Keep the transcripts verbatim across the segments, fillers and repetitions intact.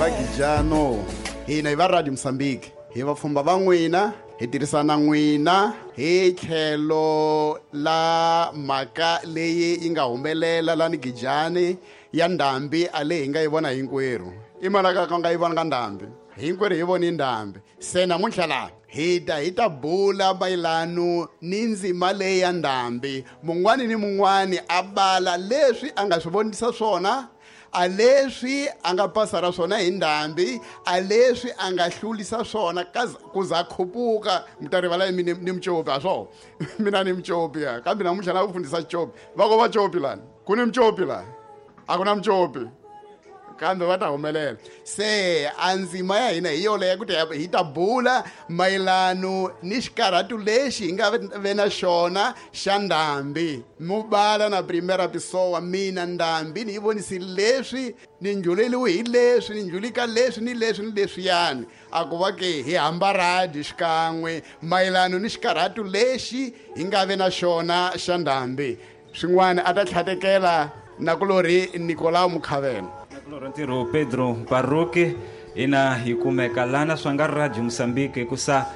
Gijano hina hi va Radio Mozambique hi vapfhumba va n'wina hi tirhisana n'wina hi tlhelo la mhaka leyi yi nga humelela lani Gijani ya ndhambi a leyi hi nga yi vona hinkwerhu i mali ka nga yi vona ka ndhambi hinkwerhu hi voni ndhambi se namuntlha laha hi ta hi ta bula mayelano ni ndzima leyi ya ndhambi mun'wani ni mun'wani a bala leswi a nga swi vonisa swona a leswi a nga pasa ra swona hi ndhambi a leswi a nga hlulisa swona ku za khupuka mi ta rivala mi ni mucopi a swo mina ni mucopi ya kambe namuntlha na ku fundisa copi va ko va copi lani ku ni mucopi lani a ku na mucopi kambe va ta humelela se a ndzima ya hina hi yoleyo ku ta hi ta bula mayelano ni xikarhatu lexi hi nga ve na xona xa ndhambi mubala na primera pessoa mina ndhambi ni yi vonisi leswi ni njhuleliwe hi leswi ni njhulika leswi ni leswi ni leswiyani a ku va ke hi hamba radi xikan'we mayelano ni xikarhatu lexi hi nga ve na xona xa ndhambi swin'wana a ta tlhatekela nakulorhi Nicolau Mukhavela Ntirho Pedro Baruki ina hi kumeka lana swa nga Radio Mozambique hikusa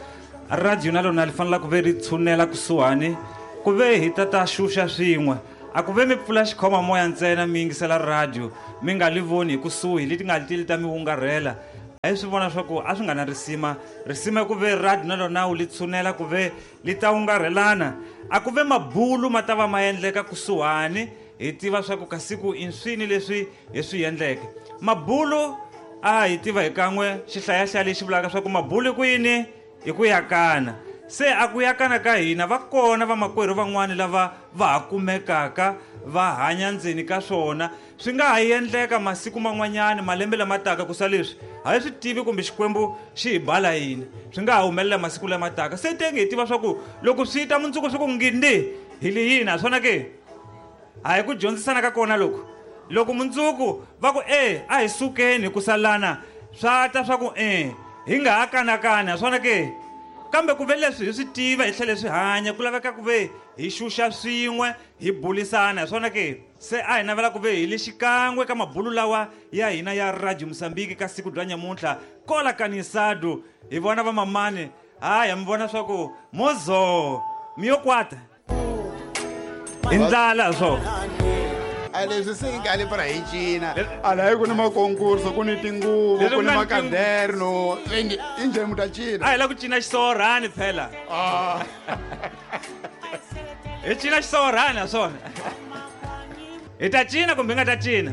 radio na lona li fanela ku ve ri tshunela kusuhani ku ve hi ta ta xuxa swin'we a ku ve mi pfula xikhoma moya ntsena mi yingisela radio mi nga li voni hi kusuhi leti nga ti ta mi wungarhela a hi swi vona swa ku a swi nga na risima risima ku ve radio na lona wu li tshunela ku ve li ta wungarhelana a ku ve mabulu ma ta va ma endleka kusuhani hi tiva swa ku kasiku i swini leswi hi swi endleke mabulu a hi tiva hi kan'we xihlayahlaya lexi vulaka swa ku mabulu ku yini hi ku yakana se a ku yakana ka hina va kona vamakwerhu van'wani lava va ha kumekaka va hanya ndzeni ka swona swi nga ha endleka masiku man'wanyana malembe lama taka ku sa leswi a hi swi tivi kumbe Xikwembu xi hi bala yini swi nga ha humelela masiku lama taka se tenge hi tiva swa ku loko swi ta mundzuku swi ku ngindi hi li yini a swona ke a hi ku dyondzisana ka kona loko loko mundzuku va ku e a hi sukeni ku salana swa ta swa ku e hi nga ha kanakana swona ke kambe ku ve leswi hi swi tiva hi tlhele swi hanya ku laveka ku ve hi xuxa swin'we hi bulisana swona ke se a hi navela ku ve hi le xikan'we ka mabulu lawa ya hina ya Radio Mozambique ka siku bya nyamuntlha kola kanisado hi vona vamamani haya mi vona swa ku mozo mi yo kwata i ndlala swo a leswi se nga le para hi cina a la ku ni makonkurso ku ni tinguvu ku ni makaderno i njhani mu ta cina a hi la ku cina xisorhani phela hi cina xisorhani ha swona hi ta cina kumbe hi nga ta cina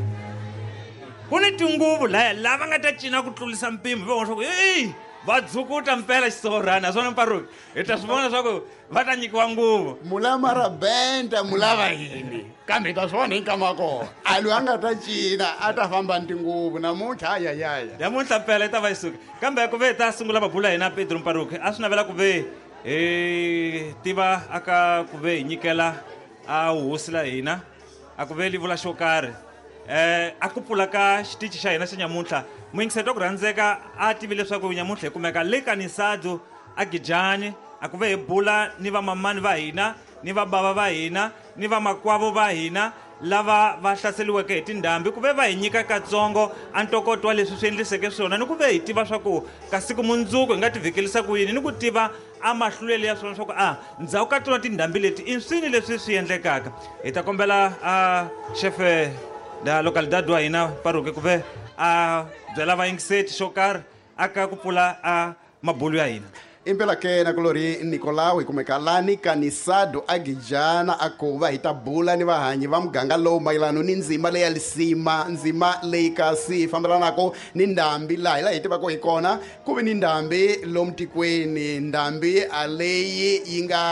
ku ni tinguvu laya lava nga ta cina ku tlulisa mpimo va vona swa ku eyi va dzukuta mpela xisorhani ha swona mparuki hi ta swi vona swa ku va ta nyikiwa nguvu mulama ra benda mulava yini kambe hi ta swi vona hi nkama wa kona a loyi a nga ta cina a ta famba ni tinguvu namuntlha ayayaya namuntlha mpela yi ta va yi suka kambe ku ve hi ta sungula mabulu ya hina Pedro Mparuki a swi navela ku ve hi tiva aka ku ve hi nyikela a hosi la hina a ku ve li vula xo karhi eh a ku pfula ka xitichi xa hina xa nyamuntlha muyingiseti wa ku rhandzeka a tivi leswaku nyamuntlha hi kumeka le Kanisado a Gijani a ku ve hi bula ni vamamani va hina ni vabava va hina ni vamakwavo va hina lava va hlaseriweke hi tindhambi ku ve va hi nyika katsongo a ntokoto wa leswi swi endliseke swona ni ku ve hi tiva swa ku ka siku mundzuku hi nga tivhekelisa ku yini ni ku tiva a mahlulelo ya swona swa ku a ndzhaku ka tona tindhambi leti i swini leswi swi endlekaka hi ta kombela a xefe la localidade wa hina Paruke ku ve a byela vayingiseti xo karhi a ka ku pfula a mabulu ya hina impela ke nakulorhi Nicolau hi kumeka lani Kanisado a Gijana a ku va hi ta bula ni vahanyi va muganga lowu mayelano ni ndzima leya lisima ndzima leyi kasi fambelanaka ni ndhambi laha hi laha hi tivaka hi kona ku ve ni ndhambi lomu tikweni ndhambi a leyi yi nga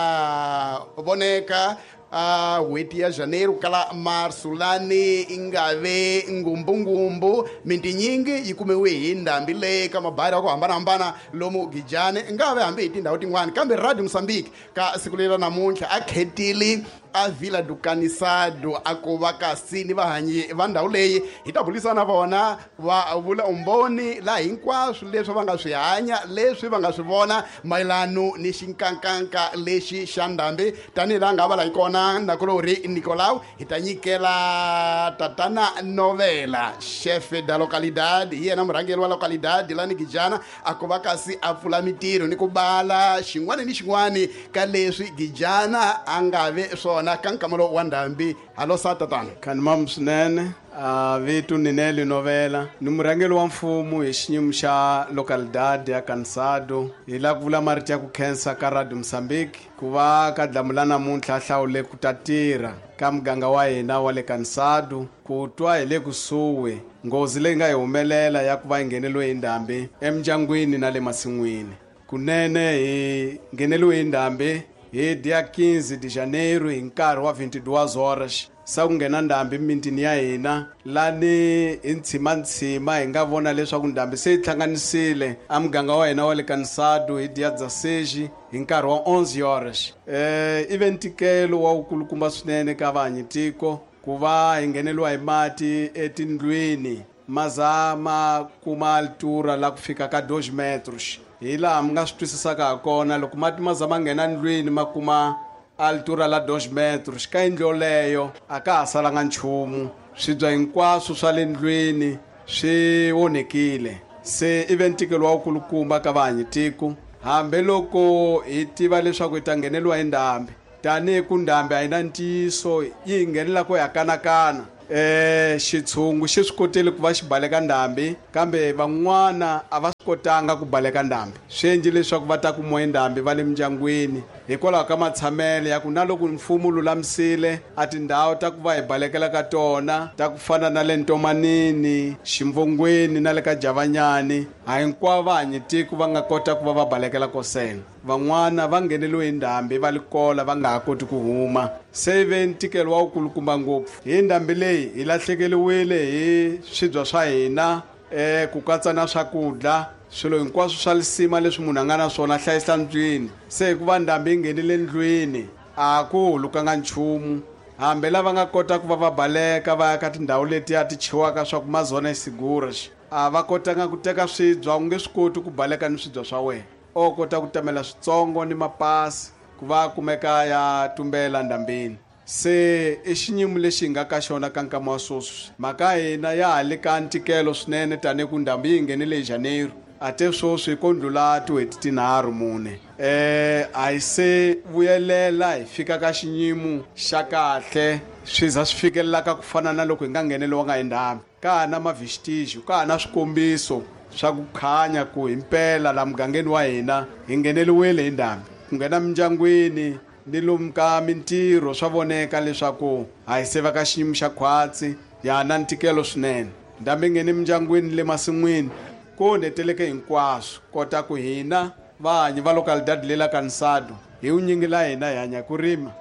voneka a n'hweti ya Janeiro kala Marso lani i nga ve ngumbungumbu mitinyingi yi kumiwe hi ndhambi leyi ka mabari ya ku hambanahambana lomu Gijani nga ve hambi hi tindhawu tin'wani kambe Radio Mozambique ka siku leri ra namuntlha a khetile a Vila do Canisado a ku va kasi ni vahanyi va ndhawu leyi hi ta burisana na vona va vula umbhoni laha hinkwaswo leswi va nga swi hanya leswi va nga swi vona mayelano ni xinkankanka lexi xa ndhambi tanihi laha nga va la hi kona na nakulori Nicolau hi ta nyikela tatana Novela chef da localidade hi yena murhangeri wa localidade lani Gijana a ku va kasi a pfula mitirho ni ku bala xin'wana ni xin'wana ka leswi Gijana a nga ve swona ka nkamelo wa ndhambi. Halo sa tatana. Khanimam swinene. A vito Nineli Novela ni murhangeri wa mfumo hi xiyimo xa localidade ya Cansado. Hi lava ku vula marito ya ku khensa ka Radio Mozambique ku va ka dlamula namuntlha hlawule ku ta tirha ka muganga wa hina wa le Cansado ku twa hi le kusuhi nghozi leyi nga hi humelela ya ku va hi ngheneliwe hi ndhambi emindyangwini na le masin'wini. Kunene hi ngheneliwe hi ndhambi hi dia quinze de janeiro hi nkarhi wa vinte e duas horas sa ku nghena ndhambi emitini ya hina lani hi ntshimantshima hi nga vona leswaku ndhambi se yi hlanganisile a muganga wa hina wa le Cansado hi dia dezesseis hi nkarhi wa onze horas. Eh i ve ntikelo wa wukulukumba swinene ka vahanyitiko ku va hi ngheneliwa hi mati etindlwini ma za ma kuma altura la ku fika ka dois metros. Hi laha mi nga swi twisisaka ha kona loko mati ma za ma nghena ndlwini ma kuma altura la dois metros ka yindlu yoleyo a ka ha salanga nchumu, swibya hinkwaswo swa le ndlwini swi onhekile. Se i ve ntikelo wa wukulukumba ka vahanyitiko hambi loko hi tiva leswaku hi ta ngheneliwa hi ndhambi tanihi ku ndhambi a yi na ntiyiso yi hi nghenela ku ya kanakana. Eh xitshungu xi swi kotile ku va xi baleka ndhambi kambe van'wana a va swi kotanga ku baleka ndhambi, swi endle leswaku va ta kumiwa hi ndhambi va le mindyangwini hikwalaho ka matshamelo ya ku na loko mfumo wu lulamisile a tindhawu ta ku va hi balekela ka tona ta ku fana na le Ntomanini, Ximvongweni na le ka Javanyani a hinkwavo vahanyitiko va nga kota ku va va balekela kosena. Van'wana va ngheneliwe hi ndhambi va li kola va nga ha koti ku huma. Se ve ntikelo wa wukulukumba ngopfu hi ndhambi leyi hi lahlekeriwile hi swibya swa hina eh ku katsa na swakudya swilo hinkwaswo swa lisima leswi munhu a nga na swona hlayisa ndlwini. Se hikuva ndhambi yi nghenile ndlwini a ku hulukanga nchumu hambi lava nga kota ku va va baleka va ya ka tindhawu letiya ti chiwaka swa ku mazona seguras a va kotanga ku teka swibya, u nge swi koti ku baleka ni swibya swa wena o kota ku tamela switsongo ni mapasi ku va kumeka ya tumbela ndhambini. Se i xiyimo lexi hi nga ka xona ka nkama wa sweswi mhaka hina ya ha le ka ntikelo swinene tanihi ku ndhambi yi nghenile hi Janeiro a te sweswi ko ndlula tin'hweti tinharhu mune eh a hi se vuyelela hi fika ka xiyimo xa kahle swi za swi fikelelaka ku fana na loko hi nga ngheneliwanga hi ndhambi. Ka ha na mavestigios ka ha na swikombiso swa ku khanya ku himpela la mugangeni wa hina hi ngheneliwile hi ndhambi ku nghena mindyangwini ni lomu ka mintirho swa voneka leswaku a hi se va ka xiyimo xa khwatsi ya na ntikelo swinene. Ndhambi yi nghene mindyangwini le masin'wini ku onheteleke hinkwaswo kota ku hina vahanyi va localidade le la Cansado hi vunyingi la hina hi hanya ku rima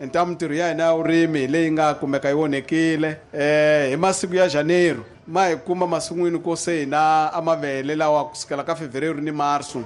enta mintirho ya hina ya vurimi hi leyi nga kumeka yi onhekile. Eh hi masiku ya Janeiro ma hi kuma masin'wini ko se hina a mavele lawa kusukela ka Fevereiro ni Marso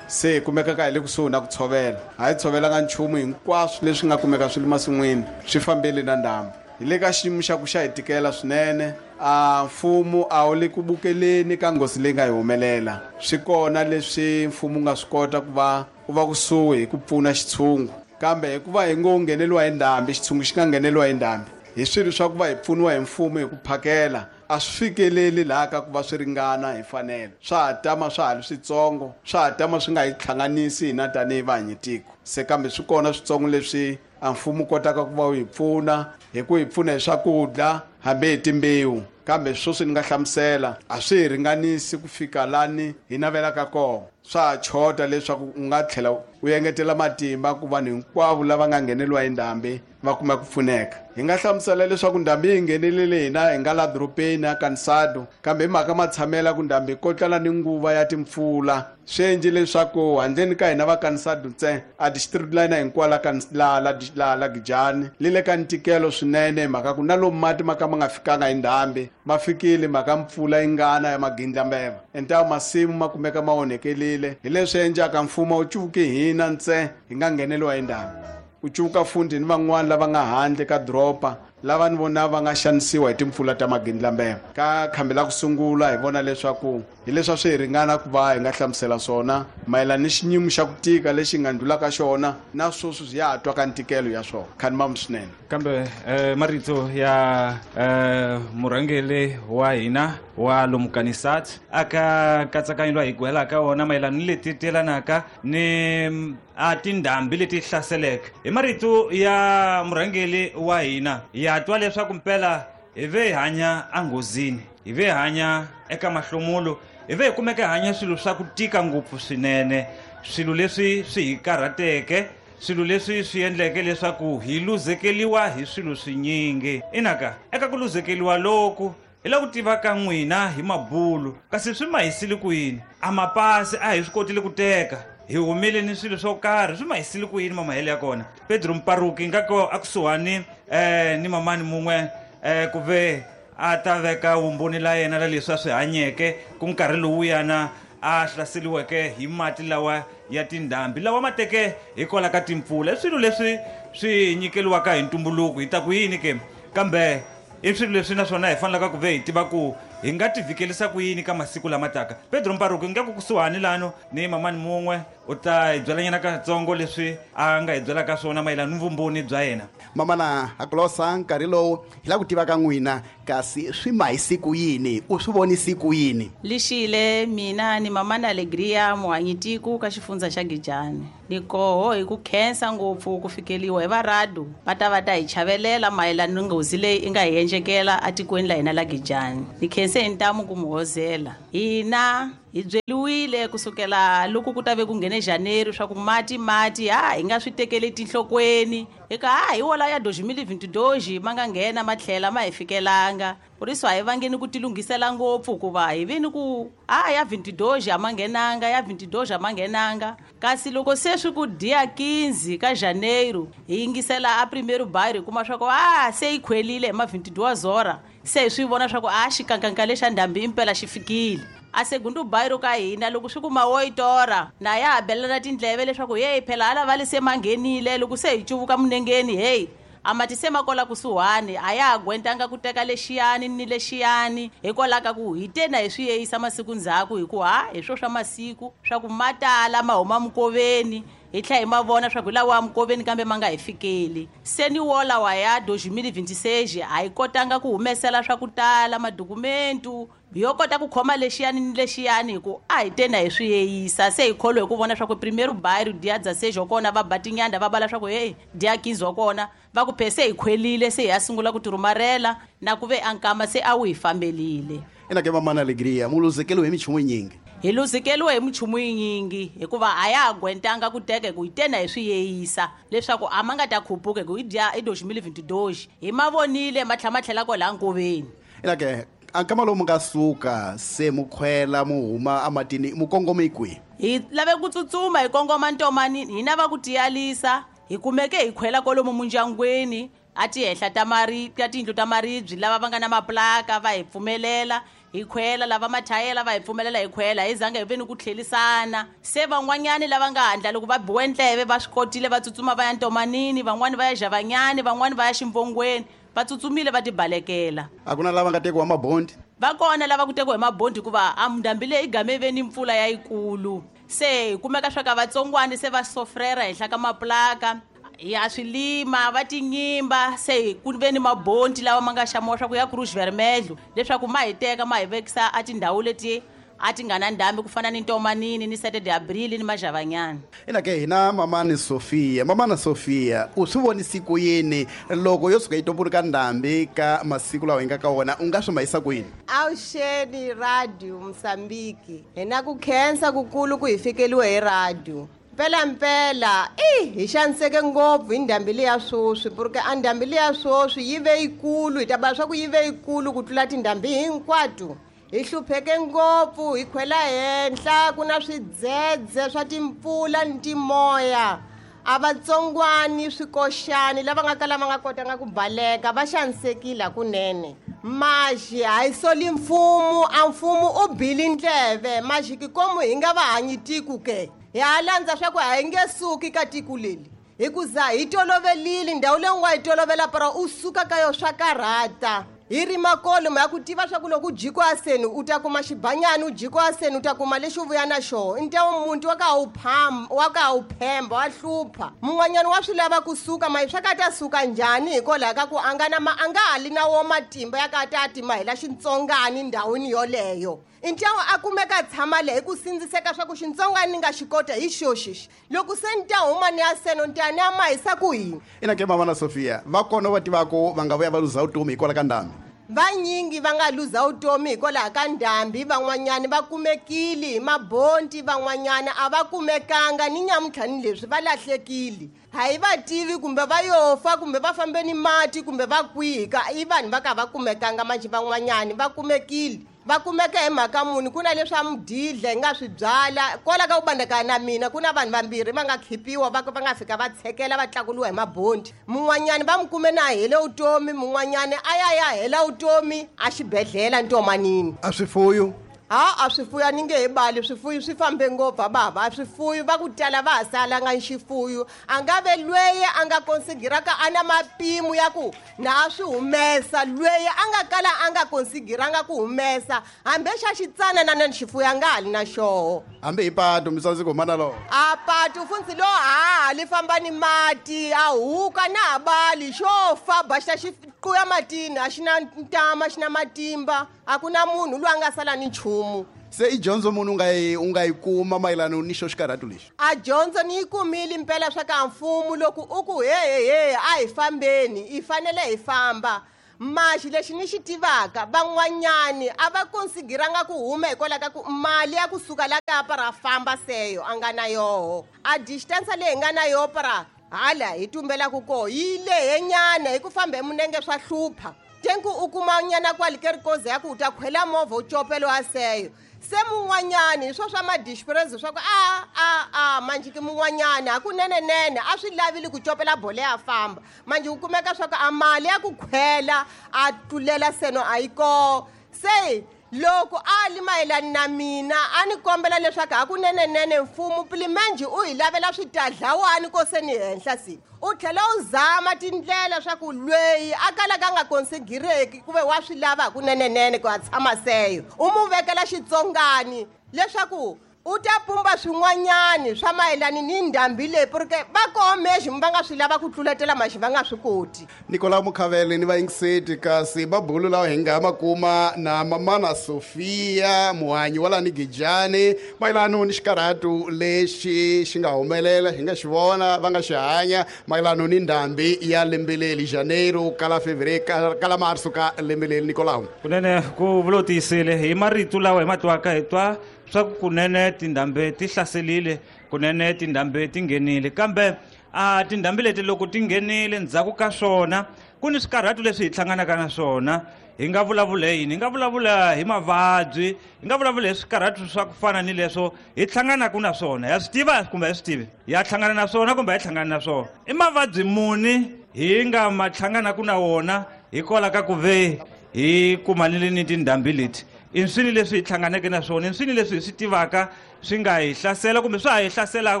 se hi kumeka ka hi le kusuhi na ku tshovela a hi tshovelanga nchumu hinkwaswo leswi nga kumeka swi le masin'wini swi fambile na ndhambi. Hi le ka xiyimo xa ku xa hi tikela swinene a mfumo a wu le ku bukeleni ka nghozi leyi nga hi humelela. Swi kona leswi mfumo wu nga swi kota ku va u va kusuhi hi ku pfuna xitshungu kambe hikuva hi ngo ngheneliwa hi ndhambi xitshungu xi nga ngheneliwa hi ndhambi hi swilo swa ku va hi pfuniwa hi mfumo hi ku phakela a swi fikeleli laha ka ku va swi ringana hi fanelo swa ha tama swa ha ri switsongo swa ha tama swi nga hi hlanganisi hina tanihi vahanyitiko. Se kambe swi kona switsongo leswi a mfumo wu kotaka ku va wu hi pfuna hi ku hi pfuna hi swakudya hambi hi timbewu kambe sweswi ni nga hlamusela a swi hi ringanisi ku fika lani hi navelaka kona swa ha chota leswaku u nga tlhela u engetela matimba ku vanhu hinkwavo lava nga ngheneliwa hi ndhambi va kuma ku pfuneka. Hi nga hlamusela leswaku ndhambi yi nghenelele hina hi nga la dorobeni ya Cansado kambe hi mhaka matshamela ku ndhambi yi kotlana ni nguva ya timpfula swi endle leswaku handleni ka hina va Cansado ntsena a district line hinkwayo la la la la la Gijani li le ka ntikelo swinene hi mhaka ku na lomu mati ma ka ma nga fikanga hi ndhambi ma fikile mhaka mpfula yi ngana ya magindlambeva entawu masimu ma kumeka ma onhekelile hi leswi endlaka mfumo wu cuvuki hina ntsena hi nga ngheneliwa hi ndhambi u cuvuka fundi ni van'wani lava nga handle ka doroba lava ni vona va nga xanisiwa hi timpfula ta magindlambema. Ka khambi la ku sungula hi vona leswaku hi leswi swi hi ringana ku va hi nga hlamusela swona mayelana ni xinyimo xa ku tika lexi nga ndlulaka xona na sweswi swi ya ha twa ka ntikelo ya swona. Khanimam swinene. Kambe eh, marito ya eh, murhangeri wa hina wa lomu Kanisat aka katsakanyo loyi hi gwelaka wona mayelana ni leti telanaka ni a tindhambi leti hlaseleke. Hi marito ya murhangeri wa hina ya twa leswaku mpela hi ve hi hanya enghozini, hi ve hi hanya eka mahlomulo, hi ve hi kumeka hi hanya swilo swa ku tika ngopfu swinene, swilo leswi swi hi karhateke, swilo leswi swi endleke leswaku hi luzekeliwa hi swilo swinyingi. Inaka eka ku luzekeliwa loku hi la ku tiva ka n'wina hi mabulu, kasi swi ma hisile ku yini? A mapasi a hi swi kotile ku teka, hi humile ni swilo swo karhi, swi ma hisile ku yini mamahelo ya kona? Pedro Mparuki nga ko akusuhani eh, ni mamani mun'we eh, ku ve a ta veka vumbhoni la yena la leswi a swi hanyeke ku nkarhi lowuyana a hlaseriweke hi mati lawa ya tindhambi lawa ma teke hikwalaho ka timpfula. I swilo leswi swi nyikeliwaka hi ntumbuluko, hi ta ku yini ke? Kambe i swilo leswi naswona hi fanelaka ku ve hi tiva ku hi nga ti vhikelisa ku yini ka masiku lama taka. Pedro Mparuki nga ku kusuhani lano ni mamani mun'we u ta hi byelanyana katsongo leswi a nga hi byelaka swona mayelana ni vumbhoni bya yena. Mamana Hakolosa, nkarhi lowu hi lava ku tiva ka n'wina kasi swi ma hi siku yini, u swi vonisi ku yini? Lixile mina ni mamana Alegria muhanyitiku ka xifundza xa Gijani. Ni koho hi ku khensa ngopfu ku fikeliwa hi varadu va ta va ta hi chavelela mayelana ni nghozi leyi i nga hi endlekela atikweni la hina la Gijani. Ni khense hi ntamu ku mu hozela. Hina hi byeliwile kusukela loko ku ta ve ku nghene Janeiro swa ku mati mati ha hi nga swi tekeli tinhlokweni, eka ha hi wola ya dois mil e vinte e dois ma nga nghena ma tlhela ma hi fikelanga. Ku ri swi a hi vangeni ku tilunghisela ngopfu hikuva hi vini ku a ya vinte e dois a ma nghenanga, ya vinte e dois a ma nghenanga. Kasi loko se swi ku dia quinze ka Janeiro hi yingisela a primeiro bairro hi kuma swa ku a se yi khwelile hi ma vinte e duas hora, se hi swi vona swa ku a xikankanka lexa ndhambi impela xi fikile. A segundo bairro ka hina loko swi ku ma oito hora na ya ha belela tindleve leswaku heyi phela hala va le se ma nghenile. Loko se hi cuvuka munengeni heyi a mati se ma kola kusuhani, a ya ha gwentanga ku teka lexiyani ni lexiyani, hikwalaho ka ku hi te na hi swi yeyisa masiku ndzhaku, hi ku ha hi swo swa masiku swa ku ma tala ma huma mukoveni, hi tlhela hi ma vona swa ku lawa mukoveni kambe ma nga hi fikeli. Se ni wo lawa ya dois mil e vinte e seis a hi kotanga ku humesela swa ku tala madokumentu yo kota ku khoma lexiyani ni lexiyani, hi ku a hi te na hi swi yeyisa. Se hi kholwe hi ku vona swa ku primeiro bairro dia dezesseis wa kona va ba tinyanda va bala swa ku heyi dia quinze wa kona va ku phe se hi khwelile, se hi ya sungula ku tirhumarela na ku ve a nkama se a wu hi fambelile. Ina ke mamana Alegria, mu luzekeliwe hi minchumu yinyingi. Hi luzekeliwe hi minchumu yinyingi hikuva a ya ha gwentanga ku teka hi ku hi te na hi swi yeyisa leswaku a ma nga ta khupuka hi ku hi dya i dois mil e vinte e dois hi ma vonile ma tlhela ma tlhela kwalaha nkoveni. Ina ke a nkama lowu mu nga suka se mu khwela mu huma amatini mu kongome kwihi? Hi lave ku tsutsuma hi kongoma ntomanini, hina va ku tiyalisa hi kumeke hi khwela kwalomu mundyangwini a tihehla ta mari ta tiyindlu ta maribye, lava va nga na maplaka va hi pfumelela hi khwela, lava mathayela va hi pfumelela hi khwela, hi zanga hi ve ni ku tlhelisana. Se van'wanyani lava nga handla loko va biwe ndleve va swi kotile va tsutsuma va ya ntomanini, van'wani va ya Javanyani, van'wani va ya Ximvongweni, va tsutsumile va tibalekela. A ku na lava nga tekiwa mabondi? Va kona lava ku tekiwa hi mabondi hikuva a ndhambi leyi game ve ni mpfula ya yikulu. Se hi kumeka swa ka vatsongwani se va sofrera henhla ka maplaka ya swilima va tinyimba, se ku ve ni mabondi lawa ma nga xamiwa swa ku ya Cruz Vermelho leswaku ma hi teka ma hi vekisa a tindhawu leti a ti nga na ndhambi ku fana ni Ntomanini ni sete de Abril ni Majavanyana. Ina ke hina mamani Sofia, mamana Sofia, u swi vonisi ku yini loko yo suka yi tumbuluka ndhambi ka masiku lawa hi nga ka wona, u nga swi mahisa ku yini? Awuxeni Radio Mozambique, hina ku khensa kukulu ku hi fikeliwe hi radio. Mpela mpela i hi xaniseke ngopfu hi ndhambi leya sweswi, porque a ndhambi leya sweswi yi ve yikulu, hi ta bala swa ku yi ve yikulu ku tlula tindhambi hinkwato. Hi hlupheke ngopfu, hi khwela henhla, ku na swidzedze swa timpfula ni timoya. A vatsongwani swikoxani lava nga kala va nga kotanga ku baleka va xanisekile hakunene. Maxi a hi soli mfumo, a mfumo u bile ndleve, maxi kikomu hi nga va hanyi tiko ke. Hi ha landza swa ku a hi nge suki ka tiko leri. Hikuza hi tolovelile ndhawu leyi u nga yi tolovela para u suka ka yo swa karhata. Hi ri makolo ya ku tiva swa ku loko u jikwa seni u ta kuma xibanyani, u jikwa seni u ta kuma lexi u vuya na xona. Ntawu muntu wa ka wu phamba, wa ka wu phemba, wa hlupha. Mun'wanyana wa swi lava kusuka, ma swa ka ta suka njhani hikwalaho ka ku a nga na ma, a nga ha li na wo matimba ya ka ta tima hela xitsongani ndhawini yoleyo. Ntawu a kumeka tshama leyi ku sindziseka swa ku xitsongani ni nga xi kota hi xoxi. Loko se ni ta huma ni ya seno ni ta ni ya mahisa ku yini? Ina ke mama na Sofia, va kona va tivaka va nga vuya va luza vutomi hikwalaho ka ndhambi? Vanyingi va nga luza vutomi hikwalaho ka ndhambi, van'wanyani va kumekile hi mabonti, van'wanyana a va kumekanga ni nyamuntlha ni leswi va lahlekile. Ha yi va tivi kumbe va yo fa kumbe va fambe ni mati kumbe va kwihi ka i vanhu va ka va kumekanga manjhe van'wanyani va kumekile. Va kumeka hi mhaka muni? Ku na leswa mudidla hi nga swi byala kwala ka ku bandakana na mina, ku na vanhu vambirhi va nga khipiwa va va nga fika va tshekela va tlakuliwa hi mabondi. Mun'wanyani va mu kume na hele vutomi, mun'wanyani a ya ya hela vutomi a xibedhlele ntomanini. A swifuyo? Ha, a swifuyo a ni nge he bali, swifuyo swi fambe ngopfu a bava. A swifuyo va ku tala va ha salanga ni xifuyo. A nga ve lweye a nga konsigiraka a na mapimo ya ku na a swi humesa, lweye a nga kala a nga konsigiranga ku humesa hambi xa xitsanana na xifuyo a nga ha li na xoho. Hambi hi patu mi tsandzi ku huma na lona? A patu funtsi lo ha li famba ni mati, a huka na ha bali, xo fa ba xa xi quya matini, a xi na ntama, xi na matimba, a ku na munhu loyi a nga sala ni nchumu. Se i dyondzo munhu u nga yi, u nga yi kuma mayelana ni xo xikarhatu lexi? A dyondzo ni yi kumile mpela swa ka mfumo loko u ku he he he a hi fambeni, hi fanele hi famba. Maxi lexi ni xi tivaka, van'wanyani a va konsigiranga ku huma hikwalaho ka ku mali ya kusuka la kapa ra famba seyo a nga na yoho. A distance leyi hi nga na yoho para hala hi tumbelaka koho yi lehenyana hi ku famba hi munenge swa hlupha. Tenku u kuma nyana kwale ke ri koze ya ku u ta khwela movha u copelo wa seyo. Se mun'wanyani hi swo swa ma-dispress swa ku a a a manjhe ke mun'wanyani hakunenenene a swi lavile ku copela bolo ya famba. Manjhe u kumeka swa ku a mali ya ku khwela a tlulela seno a yi koho. Se loko a li mayelana na mina a ni kombela leswaku hakunenenene mfumo pilimenjhe u hi lavela switadlawani ko se ni henhla si. U tlhela u zama tindlela swa ku lweyi a kalaka a nga konsigireki ku ve wa swi lava hakunenenene ku a tshama seyo. U mu vekela xitsongani leswaku u ta pumba swin'wanyani swa mayelana ni ndhambi leyi, porque va koho mexi va nga swi lava ku tluletela maxi va nga swi koti. Nicolau Mukhavele ni vayingiseti kasi mabulu lawa hi nga ma kuma na mamana Sofia muhanyi wa lani Gijani mayelana ni xikarhatu lexi xi nga humelela hi nga xi vona va nga xi hanya mayelana ni ndhambi ya lembe leri Janeiro kala Fevereiro kala Marso ka lembe leri. Nicolau, kunene ku vulotisile hi marito lawa hi ma twaka hi twa swa ku kunene tindhambi ti hlaselile, kunene tindhambi ti nghenile, kambe a tindhambi leti loko ti nghenile ndzhaku ka swona ku ni swikarhatu leswi hi hlanganaka na swona. Hi nga vulavula yini? Hi nga vulavula hi mavabyi, hi nga vulavula hi swikarhatu swa ku fana ni leswo hi hlanganaka na swona. Ya swi tiva kumbe a hi swi tivi? Ya hlangana na swona kumbe a hi hlangani na swona? I mavabyi muni hi nga ma hlanganaka na wona hikwalaho ka ku ve hi kumanile ni tindhambi leti? I swini leswi hi hlanganeke na swona, i swini leswi hi swi tivaka swi nga hi hlasela kumbe swa ha hi hlaselaka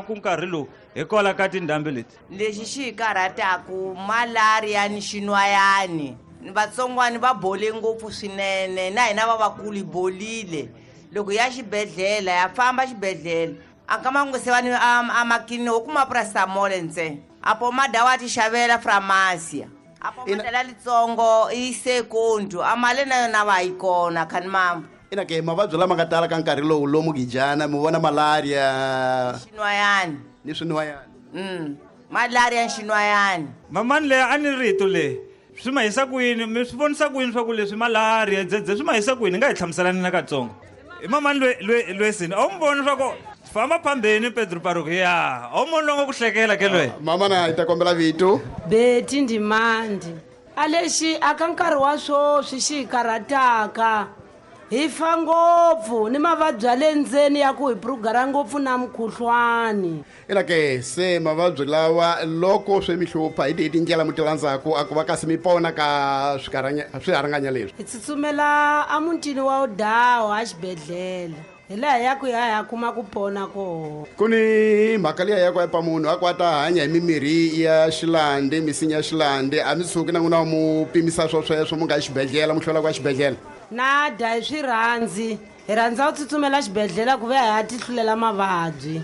ku nkarhi lowu hikwalaho ka tindhambi leti? Lexi xi hi karhataku malaria ni xinwayani. Vatsongwani va bole ngopfu swinene, na hina va vakulu hi bolile. Loko ya xibedhlele ya famba xibedhlele a ka mangu se va ni a makini wo kuma paracetamol ntsena. A pomada wa ti xavela pharmacy. A pomada litsongo i sekondu a mali na yona va yi kona khani mamba. Ina ke mavabyi lama nga tala ka nkarhi lowu lomu Gijana mi vona malaria, xinwayani ni swinwayani. Mm, malaria ni xinwayani. Mamani leyi a ni rito leyi swi ma hisa ku yini? Mi swi vonisa ku yini swa ku leswi malaria dzedze swi ma hisa ku yini? Nga hi hlamuselani na katsongo. I mamani lwe lwe lwesini a wu mi voni swa ku famba phambeni Pedro Paruki ya a wu moni longo ku hlekela ke lwe. Mama na hi ta kombela vito. Beti Ndimandi. A lexi a ka nkarhi wa sweswi xi hi karhataka hi fa ngopfu ni mavabyi ya le ndzeni ya ku hi prugara ngopfu na mukhuhlwani. Ina ke se mavabyi lawa loko swi mi hlupha hi tihi tindlela mi ti landzaku a ku va kasi mi pona ka swiharanganya leswi? Hi tsutsumela emutini wa Udawa exibedhlele. Hi laha ya ku ya ya kuma ku pona koho. Ku ni mhaka liya ya ku epa munhu a ku a ta hanya hi mimirhi ya xilande, misinya ya xilande, a mi tshuki na n'wina mu pimisa swo sweswo mu nga xibedhlele, mu hlwela ku ya xibedhlele. Na dya hi swi rhandzi, hi rhandza ku tsutsumela xibedhlele ku ve hi ya ti hlulela mavabyi.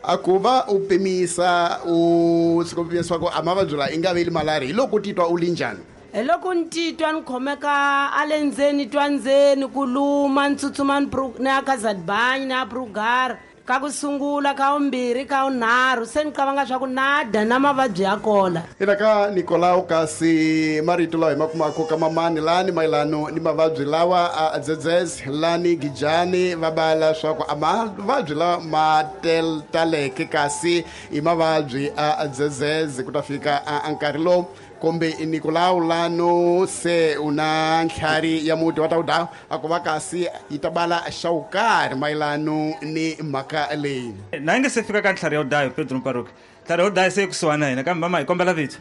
A ku va u pimisa u tshuka u pimisa ku a mavabyi lawa i nga veli malaria, hi loko u titwa u li njhani? Hi loko ni titwa ni khomeka a le ndzeni, twa ndzeni ku luma, ni tsutsuma ni pro-, ni ya ka Zadbany, ni ya Prugara, ka ku sungula, ka vumbirhi, ka vunharhu, se ni qavanga swa ku na dya na mavabyi ya kola. Ina ka Nicolau, kasi marito lawa hi ma kumaka ka mamani lani mayelano ni mavabyi lawa a dzedzes lani Gijani va bala swa ku a mavabyi lawa ma tel-, taleke kasi i mavabyi a dzedzes ku ta fika a nkarhi lowu kumbe i Nicolau lano se u na ntlhari ya muti wa ta wu daya, a ku va kasi yi ta bala xa wu karhi mayelano ni mhaka leyi. Na yi nga se fika ka ntlhari ya wu daya, Pedro Mparuki. Ntlhari ya wu daya se yi kusuhani na hina, kambe mama hi kombela vito.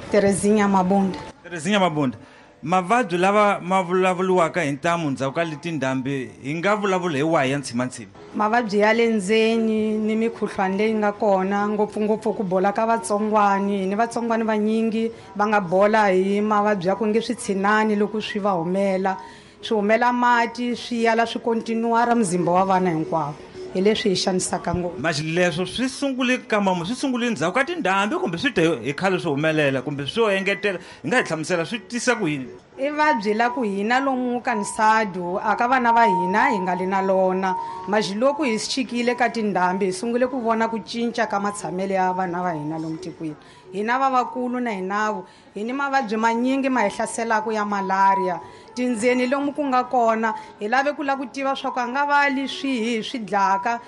Terezinha Mabunda. Terezinha Mabunda. Mavabyi lava ma vulavuriwaka hi ntamu ndzhaku ka leti ndhambi, hi nga vulavula hi wahi ya ntshimantsima? Mavabyi ya le ndzeni ni mikhuhlwani leyi nga kona, ngopfungopfu ku bola ka vatsongwani. Ni vatsongwani vanyingi va nga bola hi mavabyi ya ku nge switshinani loko swi va humela. Swi humela mati, swi yala swi kontinuara muzimba wa vana hinkwavo. Hi leswi hi xanisaka ngopfu. Masi leswo swi sungule ka mama, swi sungule ndzhaku ka tindhambi kumbe swi te hi khale swi humelela kumbe swo engetela, hi nga hi hlamusela swi tisa ku yini? I vabyi la ku hina lomu ka Nsadu, a ka vana va hina hi nga li na lona. Masi loko hi swi chikile ka tindhambi, hi sungule ku vona ku cinca ka matshamelo ya vana va hina lomu tikweni. Hina vavakulu na hinavo, hi ni mavabyi manyingi ma hi hlaselaka ya malaria. Tindzeni lomu ku nga kona, hi lave ku lava ku tiva swa ku a nga va li swihi swi dlaka.